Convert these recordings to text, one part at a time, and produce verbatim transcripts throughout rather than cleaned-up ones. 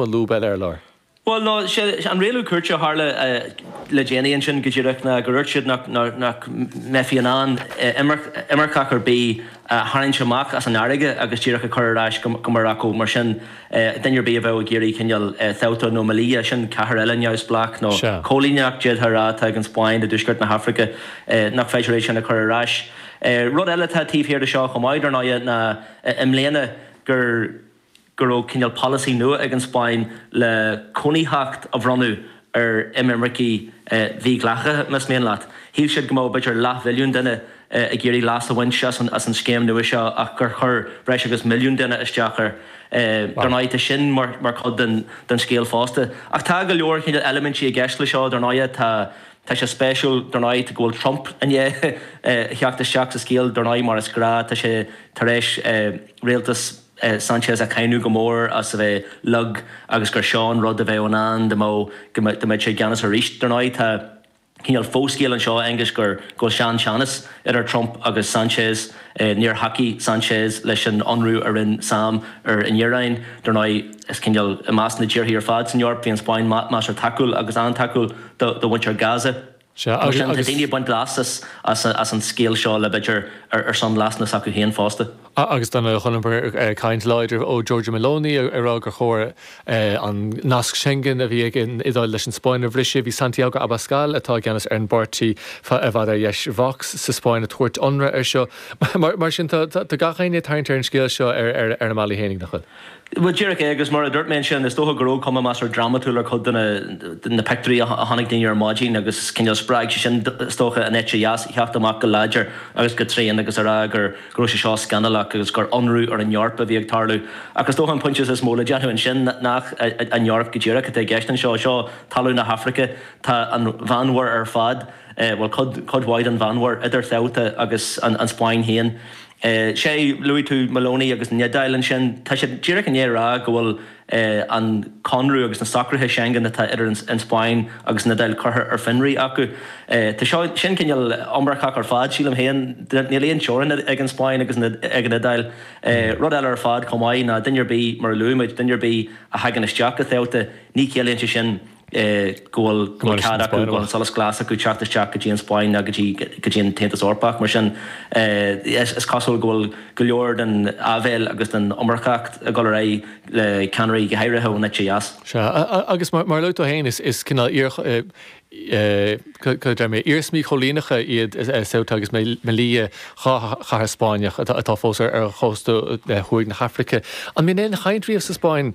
an lúb eile ar lár. Bhuel, no, sé an rialú cúirte a tharla le déanaí ansin go díreach ná gur dhúirt siad nach nach mbeifí in ann imirceach ar bith a tharraingt amach as an fharraige agus díreach a chur ar ais go Morocco. Mar sin, duine ar bith a bheadh ag iarraidh cineál Ceuta nó Melilla, sin cathair eile neamhspleách nó coilíneacht d'fhéadfá a rá atá ag an Spáinn i dtuaisceart na hAfraice, nach féidir é sin a chur ar ais. Rud eile atá taobh thiar de seo chomh maith, dar ndóigh, ná i mbliana gur go raibh cineál polasaí nua ag an Spáinn le cónaitheacht a bhronnadh ar imircigh mhídhleathacha, más mian leat. Shíl siad go mbeadh b'fhéidir leathmhilliún duine ag iarraidh leas a bhaint as an as an scéim nua seo ach gur chuir breis agus milliún duine isteach air. Dar ndóigh, tá sin mar mar chuid den den scéal fosta. Ach tá go leor cineál eilimintí i gceist le seo, dar ndóigh. Tá Tá sé spéisiúil, dar ndóigh, go bhfuil Trump i ndiaidh theacht isteach sa scéal, dar ndóigh, mar is gnáth, tá sé tar éis rialtas Sanchez a cháineadh go mór as a bheith lag agus gur seo an rud a bheadh in ann dá mbeadh go mbeadh sé i gceannas arís. Dar ndóigh, tá cineál foscéal anseo, Aengus, gur go bhfuil sean-teannas idir Trump agus Sanchez. Níor thacaigh Sanchez leis an ionradh a rinne SAM ar an Iaráin. Dar ndóigh, is cineál i measc na dtíortha ar fad san Eoraip, bhí an Spáinn measartha tacúil agus an-tacúil do mhuintir Gaza. Mar sin, tá daoine ag baint leas as as an scéal seo le b'fhéidir ar son leasanna s'acu féin fosta. Agus dar ndóigh chonaiceamar caint láidir ó Giorgia Meloni ag rá gur chóir an nasc Schengen a bhí ag an Iodáil leis an Spáinn a bhriseadh. Bhí Santiago Abascal, atá i gceannas ar an bpáirtí i bhfad ar dheis Vox sa Spáinn, ag tabhairt ionradh air seo. Mar sin, tá gach éinne ag tarraingt ar an scéal seo ar a mbealaí féinig, nach bhfuil? Bhuel, díreach é, agus mar a dúirt mé ansin, is dócha go raibh cuma measartha drámatúil ar chuid de na pictiúirí a chonaic daoine ar maidin agus cineál spreag sé sin, is dócha, an eite dheas a theacht amach go láidir agus go tréan agus a rá gur go raibh sé seo scannalach agus gur ionradh ar an Eoraip a bhí ag tarlú. Ach is dócha an pointe is mó le déanamh ansin nach an Eoraip go díreach atá i gceist anseo. Seo talamh na hAfraice. Tá an Mheánmhuir ar fad, bhuel, cuid mhaith den Mheánmhuir, idir Ceuta agus an Spáinn féin. Sea, luaigh tú Meloni agus an Iodáil ansin. Tá siad díreach i ndiaidh a rá go bhfuil an conradh agus na socruithe Schengen atá idir an Spáinn agus an Iodáil curtha ar fionraí acu. Tá seo, sin cineál iomarcach ar fad, sílim féin. Níl aon teorainn ag an Spáinn agus ag an Iodáil. Rud eile ar fad chomh maith ná duine ar bith, mar a luaigh muid, duine ar bith a thagann isteach go Ceuta, ní chiallaíonn sé sin, go bhfuil cead acu, go bhfuil an solas glas acu teacht isteach go dtí an Spáinn ná go dtí go dtí an tAontas Eorpach. Mar sin, is cosúil go bhfuil go leor den áibhéil agus den iomarcacht ag dul ar aghaidh le ceannairí, go háirithe ón eite dheas. Sea, agus mar a luaigh tú féin, is cineál iar, cad a deir mé, iarsmaí choilíneacha iad Ceuta agus Melilla, dhá chathair Spáinneach atá fós ar chósta thuaidh na hAfraice. An mbíonn aon chaint riamh sa Spáinn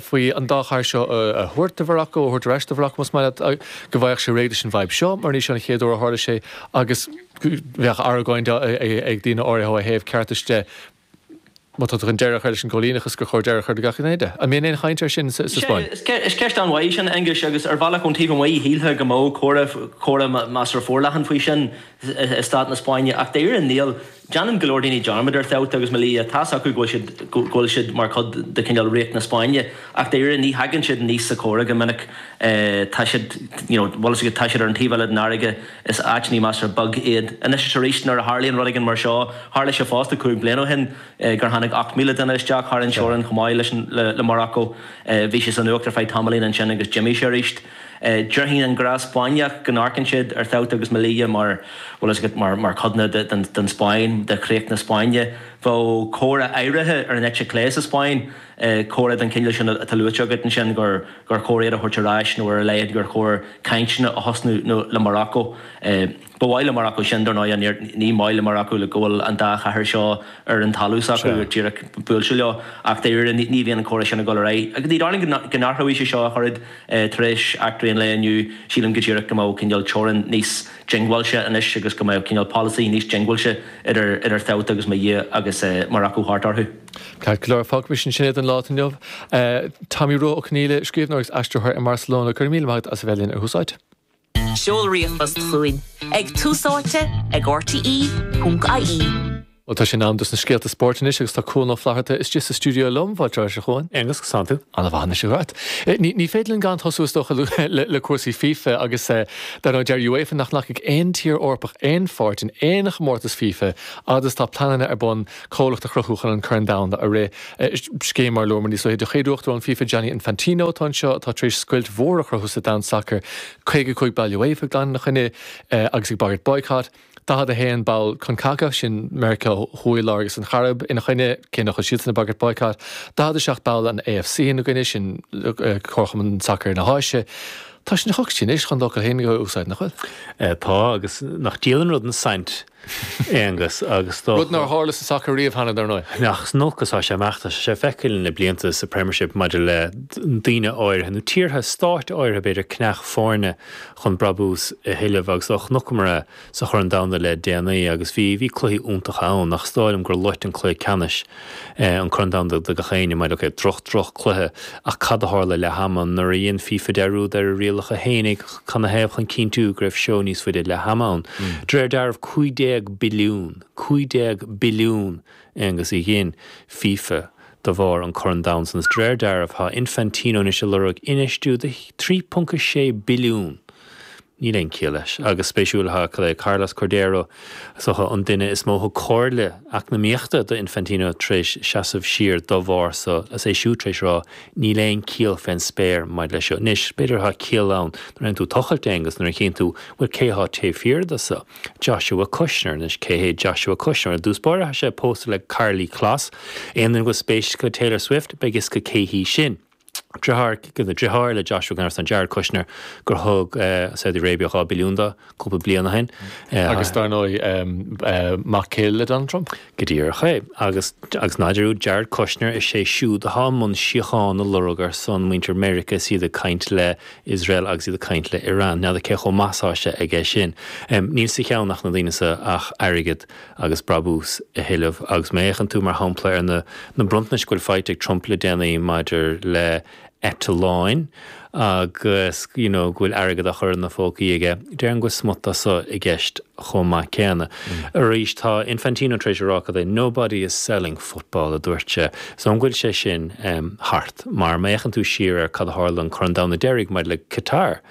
faoi an dá chathair seo a thabhairt do Mharacó, a thabhairt ar ais do Mharacó más maith leat, go bhfaigheadh sé réidh leis an bhfadhb seo, mar ní seo an chéad uair a tharla sé agus bheadh argóint ag daoine áirithe ó thaobh ceartais de. Má tá tú chun deireadh a chur leis an gcoilíneachas, gur chóir deireadh a chur le gach gné de. An mbíonn aon chaint air sin sa Spáinn? Is ceist an-mhaith í sin, Aengus, agus ar bhealach ón taobh amuigh shílfeá go mbeadh comhrá, comhrá measartha forleathan faoi sin i stát na Spáinne, ach dáiríre níl. Déanann go leor daoine dearmad ar Ceuta agus Melilla. Tá's acu go bhfuil siad, go bhfuil siad mar chuid de chineál Ríocht na Spáinne, ach dáiríre ní thagann siad aníos sa chomhrá go minic. Tá siad, you know, bhfuil a fhios agat, tá siad ar an taobh eile den fharraige, is áiteanna measartha beag iad. Anois is arís nuair a tharlaíonn rud éigin mar seo, tharla sé fosta cúig bliana ó shin, gur tháinig ocht míle duine isteach thar an teorainn chomh maith leis an le Morocco. Bhí sé sa nuacht ar feadh tamaillín ansin agus d'imigh sé arís. Déarfainn an gnáth Spáinneach go n-amharcann siad ar Ceuta agus Melilla mar, bhfuil a fhios agat, mar mar codanna de den den Spáinn, de chríoch na Spáinne. Bheadh comhrá áirithe ar an eite chlé sa Spáinn, comhrá den chineál sin atá luaite agat ansin, gur gur chóir iad a thabhairt ar ais nó ar a laghad gur chóir cainteanna a thosnú nó le Morocco. Ba mhaith le Morocco sin, dar ndóigh, ní maith le Morocco go bhfuil an dá chathair seo ar an talamh s'acu, díreach buailte leo, ach dáiríre ní bhíonn an comhrá sin ag dul ar aghaidh. Agus ní dóigh liom go n-athróidh sé seo ach oiread tar éis eachtraí an lae inniu. Sílim go díreach go mbeadh cineál teorainn níos diongbháilte anois agus go mbeadh cineál polasaí níos diongbháilte idir idir Ceuta agus Melilla agus Morocco thart orthu. Ceart go leor, fágfaimis ansin é don lá inniu. Tomaí Rua Ó Conghaile, scríbhneoir agus aistritheoir i mBarcelona, go raibh míle maith agat as a bheith linn ar Thús Áite. Seol ríomhphost chugainn ag túsáite ag R T E ponc I E. Bhuel, tá sé in am dos na scéalta spóirt anois agus tá Cuan Ó Flatharta istigh sa stiúideo liom. Fáilte ar ais, a Chuain. Aonghus, conas tánn tú? An-mhaith anois agat. Ní ní féidir linn gan tosú is dócha le le cúrsaí FIFA agus dar ndóigh deir UEFA nach nglacfaidh aon tír Eorpach aon pháirt in aon chomórtas FIFA fhad is tá pleananna ar bun comhlacht a chruthú chun an Corn Domhanda a rith. Scéim mar a luamar níos luaithe de chéad uachtarán FIFA Gianni Infantino atá anseo atá tar éis scoilt mhór a chruthú sa domhan sacair, caoga cúig ball UEFA ag glanadh ina choinne agus ag bagairt boycott. daichead a haon ball Concacaf, sin Meiriceá Thuaidh, Láir agus an Chairib, ina choinne, cé nach bhfuil siadsan ag bagairt boycott. daichead a seacht ball an A F C ina gcoinne, sin Comharchumann Sacair na hÁise. Tá sé ina choc anois chun d'fhocal féin a úsáid, nach bhfuil? Tá, agus nach diail an rud an saint, Aonghus, agus dócha. Rud nár tharla sa sacar riamh cheana, dar ndóigh. Nach san olc atá sé amach, tá sé feicthe le blianta sa Premiership maidir le daoine áirithe nó tíortha, stáit áirithe b'fhéidir, ceannach foirne chun brabús a thuilleamh agus do chonaiceamar é sa Chorn Domhanda le déanaí agus bhí bhí cluichí iontacha ann ach is dóigh liom gur loit an cluiche ceannais an Corn Domhanda do gach éinne maidir ok droch droch cluiche ach cad a tharla leath ama nuair a dhein FIFA dearúd ar a rialacha fhéinig canathaobh chun cinntiú go raibh seó níos faide leath ama ann. De réir dealraimh cúig déag billiún, cúig déag billiún Aonghus a ghin FIFA de bharr an Corn Domhanda san is de réir dealraimh tá Infantino anois ag lorg infheistiú de trí ponc a sé billiún. Níl aon chiall leis. Agus spéisiúil atá cad é Carlos Cordeiro, is dócha an duine is mó a thug comhairle eacnamaíochta do Infantino tar éis seasamh siar dá bharr so, is é siúd tar éis rá níl aon chiall fén spéir maidir leis seo. Anois, b'fhéidir atá ciall ann nuair a théann tú tochailt, Aonghus, nuair a chíonn tú, bhuel, cé atá taobh thiar de so? Joshua Kushner. Anois, cé hé Joshua Kushner? I dtús báire, tá sé pósta le Karlie Kloss. Aon duine go bhfuil spéis acu Taylor Swift, beidh fhios acu cé hí sin. Deartháir, deartháir le Joshua gan amhras ná Jared Kushner gur thug Saudi Arabia dhá billiún dó cúpla bliain ó shin. Agus dar ndóigh mac céile le Donald Trump. Go díreach é. Agus agus ná dearúd Jared Kushner, is é siúd atá i mbun síocháin a lorg ar son muintir Meiriceá is iad ag caint le Iosrael agus iad ag caint le Iran. N'fheadar cé chomh maith is atá sé aige sin. Níl sa cheann ach na daoine seo ach airgead agus brabús a thuilleamh. Agus má fhéachann tú mar shampla ar na na bronntanais go bhfuil faighte ag Trump le déanaí maidir le eitleáin agus you know go bhfuil airgead á chur ina phócaí aige, déarfainn go bhfuil smut de so i gceist chomh maith céanna. Arís tá Infantino tar éis a rá cad é "nobody is selling football" a dúirt sé. So an bhfuil sé sin um, thart? Mar má fhéachann tú siar ar cad a tharla an Corn Domhanda deiridh maidir le Qatar,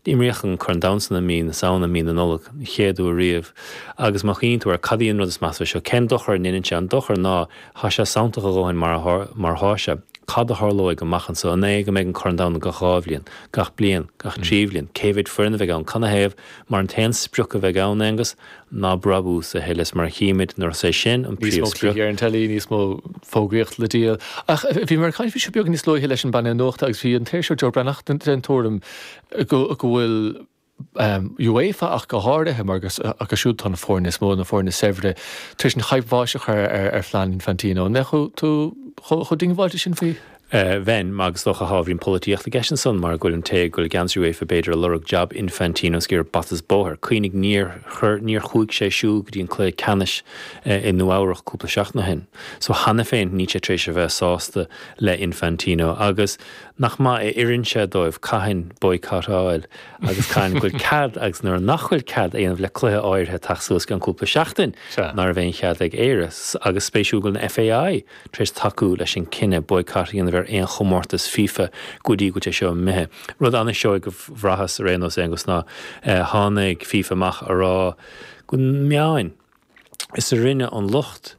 imríodh an Corn Domhanda san i mí na Samhna, mí na Nollag, an chéad uair riamh. Agus má chuimhníonn tú ar cad í an rud is measa seo, cén dochar a ndeineann sé? An dochar ná tá sé santach a dhóthain mar mar atá sé. Cad a tharlóidh amach anseo? An é go mbeidh an Corn Domhanda gach dhá bhliain, gach bliain, gach trí bhliain? Cé mhéad foireann a bheidh ann? Canathaobh? Mar an t-aon sprioc a bheidh ann, Aonghus, ná brabús a thuilleamh. Mar a chímid nuair is é sin an Níos mó príomhsprioc. cluichí ar an teilí, níos mó fógraíocht le díol. Ach bhí mé ag caint faoi seo beag níos luaithe leis an bpainéal nuachta agus bhí an t-iriseoir Joe Breathnach den den tuairim go go bhfuil um, UEFA ach go háirithe mar agus acu siúd tá na foirne is mó na foirne saibhre tar éis an chaidhp bháis a chur ar, ar phlean Infantino. An mbeadh tú chomh diongbháilte sin faoi? Bheinn, agus dócha ábhairín polaitíocht i gceist ansan mar go bhfuil an té go bhfuil i gceannas ar UEFA b'fhéidir ag lorg jab Infantino is ag iarraidh bata is bóthar. Cuimhnigh níor chuir níor chuaigh sé siúd go dtí an cluiche ceannais i Nua Eabhrach cúpla seachtain ó shin. So cheana féin níl sé tar éis a bheith sásta le Infantino agus nach maith a oireann sé dóibh cathain boycottáil agus cathain go bhfuil cead agus nuair nach bhfuil cead a dhéanamh le cluiche áirithe teacht suas gan cúpla seachtain ná raibh aon chead ag Éire agus spéisiúil go bhfuil an F A I tar éis tacú leis an cinneadh boycott a dhéanamh ar aon chomórtas FIFA go dtí go bhfuil sé seo imithe. Rud an-seoigh go bhraitheas ar aon nós Aonghus ná tháinig FIFA amach a rá go meáin is a rinne an locht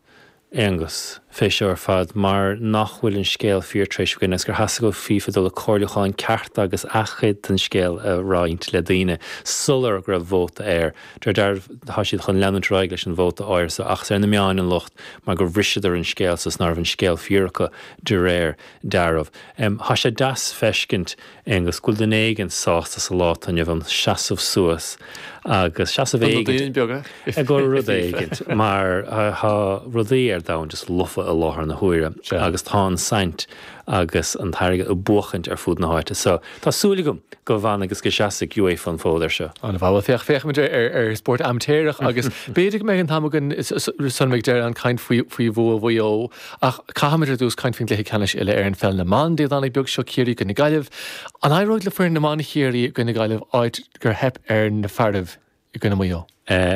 Aonghus fé seo ar fad mar nach bhfuil an scéal fíor tar éis againn agus gur theastaigh ó FIFA dul le comhairliúchán ceart agus athchuid den scéal a roinnt le daoine sular go raibh vóta air. De réir tá siad chun leanúint ar aghaidh leis an vóta áirithe ach ar na meáin an locht mar gur bhriseadar an scéal is ná raibh an scéal fíor acu de réir dealraimh. Um, Tá sé deas feiscint Aonghus go bhfuil duine éigin sásta sa lá inniu an seasamh suas agus seasamh éigin beaga ag go rud éigin mar tá rudaí ar domhan just lofa i láthair na huaire agus tá an saint agus an t-airgead ag buachaint ar fud na háite. So tá súil agam go bhfanfaidh agus go seasfaidh UEFA an fód ar seo. An bhfuil féach féachfaimid ar ar spórt amaitéarach agus b'fhéidir go mbeidh an t-am againn san ag deireadh an caint faoi faoi bhua Mhaigh Eo ach caithfimid ar dtús caint faoin gcluiche ceannais uile ar an pheil na mban Dé Domhnaigh beag seo Ciarraí i gcoinne Gaillimh. An éireoidh le foireann na mban Chiarraí i gcoinne Gaillimh áit gur theip ar na fearaibh i gcoinne Mhaigh Eo?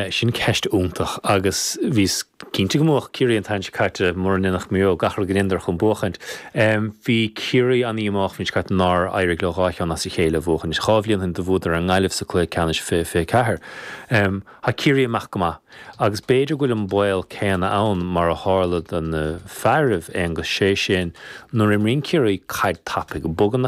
Sin ceist iontach agus bhíos cinnte go mbuafadh Ciarraí an t-am seo caite mura ndéanfadh Maigh Eo gach rud go ndéanadar chun buachaint. Bhí Ciarraí an-dhíomách an bhliain seo caite nár éirigh leo dhá cheann as a chéile a bhuachaint. Dhá bhliain ó shin do bhuadar ar an nGaillimh sa cluiche ceannais fiche fiche ceathair. Tá Ciarraí amach go maith agus b'fhéidir go bhfuil an baol céanna ann mar a tharla do na fearaibh, Aonghus, sé sin nuair a imríonn Ciarraí caid tapaidh, bogann na